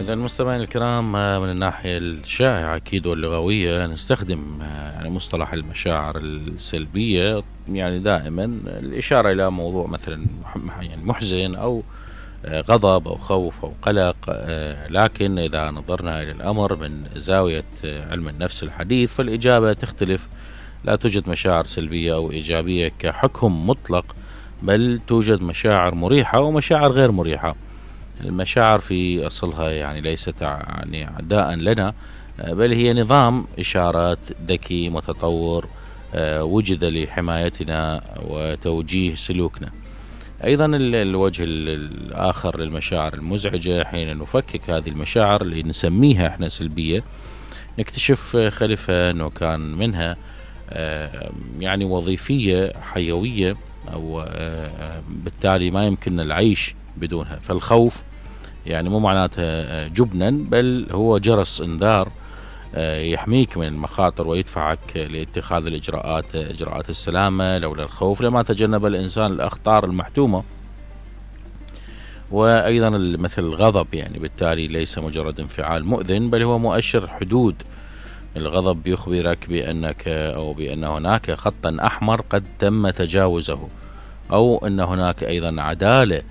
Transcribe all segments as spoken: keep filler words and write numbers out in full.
إذا المستمعين الكرام، من الناحية الشائعة أكيد واللغوية نستخدم يعني مصطلح المشاعر السلبية، يعني دائما الإشارة إلى موضوع مثلا يعني محزن أو غضب أو خوف أو قلق. لكن إذا نظرنا إلى الأمر من زاوية علم النفس الحديث فالإجابة تختلف. لا توجد مشاعر سلبية أو إيجابية كحكم مطلق، بل توجد مشاعر مريحة ومشاعر غير مريحة. المشاعر في أصلها يعني ليست يعني أعداء لنا، بل هي نظام إشارات ذكي متطور وجد لحمايتنا وتوجيه سلوكنا. أيضا الوجه الآخر للمشاعر المزعجة، حين نفكك هذه المشاعر اللي نسميها احنا سلبية، نكتشف خلفها أنه كان منها يعني وظيفية حيوية، أو بالتالي ما يمكننا العيش بدونها. فالخوف يعني مو معناتها جبنا، بل هو جرس انذار يحميك من المخاطر ويدفعك لاتخاذ الإجراءات إجراءات السلامة. لولا الخوف لما تجنب الإنسان الأخطار المحتومة. وأيضا مثل الغضب، يعني بالتالي ليس مجرد انفعال مؤذن، بل هو مؤشر حدود. الغضب يخبرك بأنك أو بأن هناك خطا أحمر قد تم تجاوزه، أو أن هناك أيضا عدالة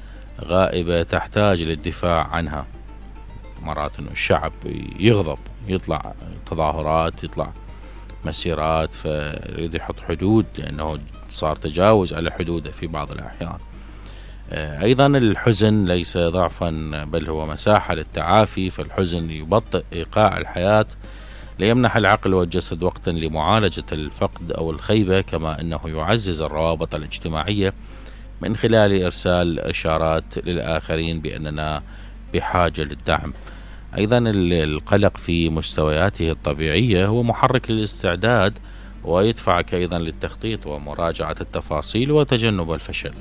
غائبة تحتاج للدفاع عنها. مرات أنه الشعب يغضب، يطلع تظاهرات، يطلع مسيرات، فيريد يحط حدود لأنه صار تجاوز على حدوده في بعض الأحيان. أيضا الحزن ليس ضعفا، بل هو مساحة للتعافي. فالحزن يبطئ إيقاع الحياة ليمنح العقل والجسد وقتا لمعالجة الفقد أو الخيبة، كما أنه يعزز الروابط الاجتماعية من خلال إرسال إشارات للآخرين بأننا بحاجة للدعم. أيضا القلق في مستوياته الطبيعية هو محرك للاستعداد، ويدفعك أيضا للتخطيط ومراجعة التفاصيل وتجنب الفشل.